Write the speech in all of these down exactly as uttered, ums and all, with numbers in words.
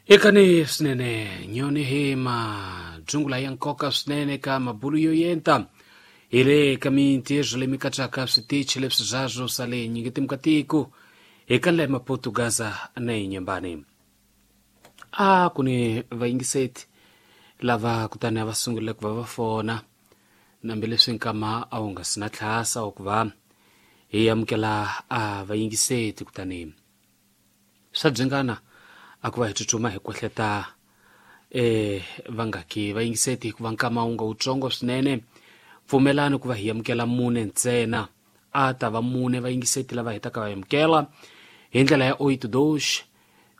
Ekani swinene nyoni hi majungula ya nkoka swinene ka mabulu yo yenta hi le ka mintirho leyi mi katsaka switichi leswi zwazwo swa le nyingetimu ka tiko eka le Maputo, Gaza na Inhambane. A ku ni vayingiseti lava kutani a va sungurile ku va va fona nambileswi nkama a wu nga si na tlhasa wa ku va hi amukela a vayingiseti, kutani swa byingana a ku va hi tsutsuma hi kwehleta e vangaki vayingiseti hikuva nkama wu nga wutsongo swinene. Pfumelani ku va hi amukela mune ntsena, a ta va mune vayingiseti lava hetaka va amukela hi ndlela ya oito dois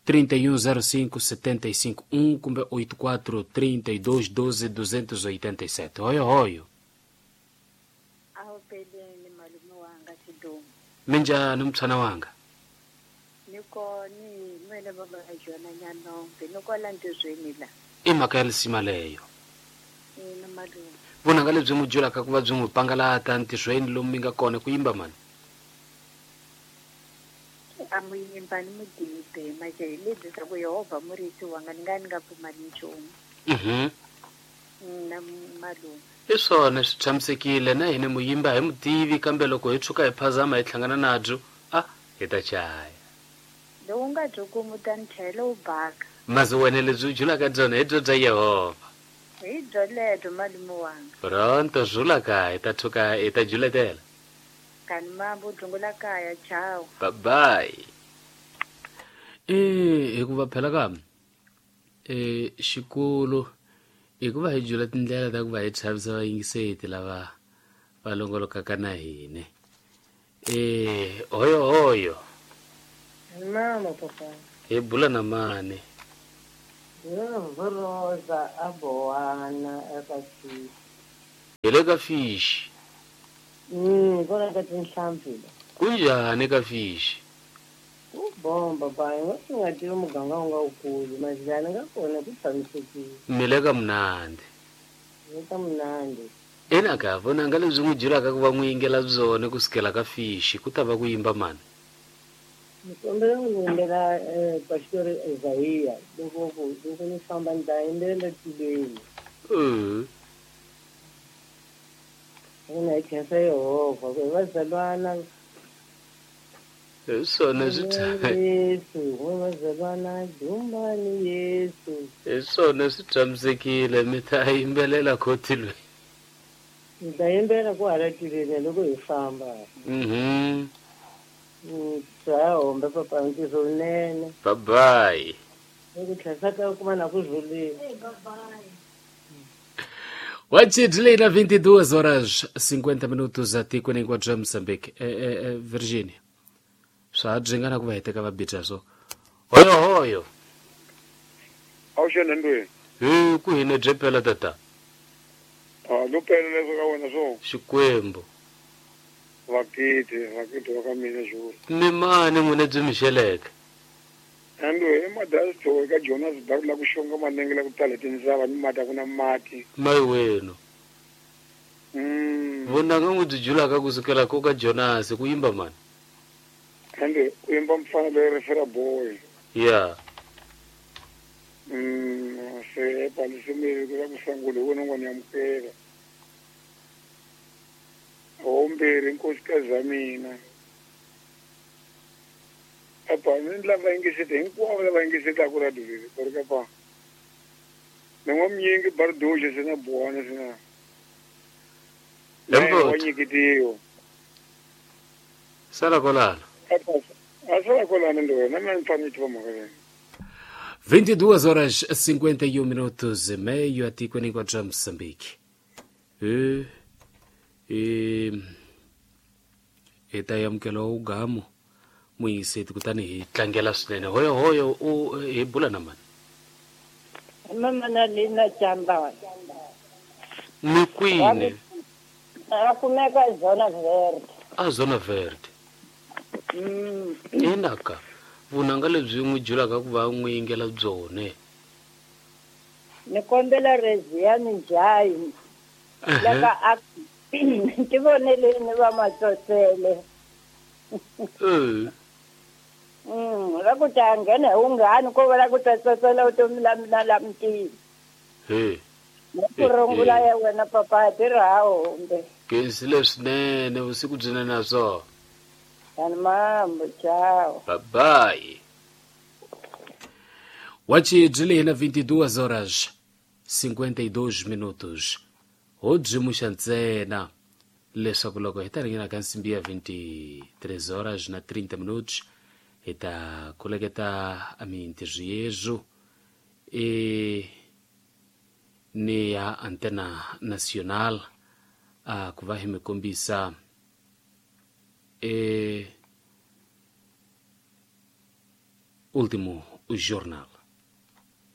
três um zero cinco sete cinco um kumbe oito quatro três dois um dois dois oito sete. Hoyo hoyo. Awupheleni malume wanga Sidumo. Minjhani mtshwana wanga? Ni kona nwene baba ka Jona Nyanombe, ni kwala ntirhweni la. I mhaka ya lisima leyo. Ina malume. Vunanga lebyi n'wi julaka ku va byi n'wi pangalata ntirhweni lomu mi nga kona ku yimba mani? A mu yimba ni mudibe maje hi lebyi swa ku Yehovha murisi wanga, ni nga ni nga pfumali nchumu. Mhm. Na malume. I swona, swi tshamisekile na hina muyimba hi mutivi, kambe loko hi tshuka hi phazama hi hlangana nabyo a hi ta chaya. Lowu nga byi kumu ta ni chayela wu baka. Mazi wena lebyi u julaka byona hi byo bya Yehovha. Hi byo lebyo malume wanga. Pronto zulaka hi ta tshuka hi ta juletela. Kani mambo dzungula kaya, chao. Bye bye. E hikuva phela ka e xikolo hikuva hi jula tindlela ta ku va hi chavisa vayingiseti lava va longolokaka na hina. E hoyo hoyo. Mama papa. Hi bula na mani? Rosa abowana eka fishi. Hi le ka fishi? Mm, kona ka tinhlampfi la. Kunjhani ka fishi? Ku bomba ba, nga swi nga tivi muganga wu nga wukulu, mazilani nga kona ku tshamisekile. Mi le ka munandi? Le ka munandi. Ina ka vunanga lebyi n'wi julaka ku va n'wi yingela byona kusukela ka fishi ku ta va ku yimba mani? Ni kombela ku yimbela eh, Pastor Isaiah, loko ku loko ni famba ni ta yimbelela tilweni. Uh. Ina hi khensa Yehovha ku hi vazalwana. Hi swona swi Yesu, n'we vazalwana dumbani Yesu. Hi swona, swi tshamisekile, mi ta yimbelela khotilweni. Ni ta yimbelela ku hala tilweni loko hi famba. Mhm. Mm, swa hombe papa, ntirho wunene. Bye bye. Ku tlhesa ka kuma na ku rhulile. Wachidlei na vinte e duas horas cinquenta minutos atikweni hinkwabyo bya Mozambique. E, e, e, Virginia swa ha byingana ku va hi teka va bita so hoyo hoyo. Awuxena ndweni. Hi ku hina bye pela tata. A lo pela leswo ka wena swo. Xikwembu. Vakiti vakiti wa ka mina xulu. Mi mani n'wina byi mi xeleke? Andwe i madasito eka Jonas Baru la ku xonga manenge la ku tala tindzava ni mati a ku na mati. Mayi wenu. Mm. Vunanga n'wi byi julaka kusukela ko ka Jonas ku yimba mani? Ande ku yimba mfana loyi refera boy. Ya. Mm, se palisimile ku la ku sangula hi wena n'wana amukela. Hombirhi nkosikazi ya mina. Apa ni lava yingiseti hinkwavo lava yingisetaka radio leri va ri ka pa. Ni n'wa mnyingi bardoxe se na buwana se na. Lembo. Wa nyiketiwa. Sala kolala. Apa a sala kolana ndo wena na ni fanele tiva mhaka leyi. vinte e duas horas cinquenta e um minutos e meio atikweni hinkwabyo bya Mozambique. E, e, hi ta amukela ugamu muyingiseti kutani hi tlangela swinene. Hoyo hoyo, u hi bula na mani? Mama na lina chamba. Mi kwini? A kumeka Zona Verde. A Zona Verde? Mm. Inaka vunanga lebyi n'wi julaka ku va n'wi yingela byone? Ni kombela Reziani Njayi. Laka a tivoneleni va matsotsele. Eh. Mm, ra ku ta nghena hi wunghani ko va la ku ta tsotsela vutomi la mina la mutini. He. Ku rungula ya wena papa tirhawo kumbe. Kensile swinene vusiku byinene na swona. Yani mambo ciao. Bye bye. Wachi byi na vinte e duas horas cinquenta e dois minutos. Ho byimuxa ntsena leswaku loko hi ta ringena ka nsimbi ya vinte e três horas na trinta minutos hi ta kuleketa a mintirho yezu e ni ya Antena Nacional a ku va hi mi kombisa e último jornal.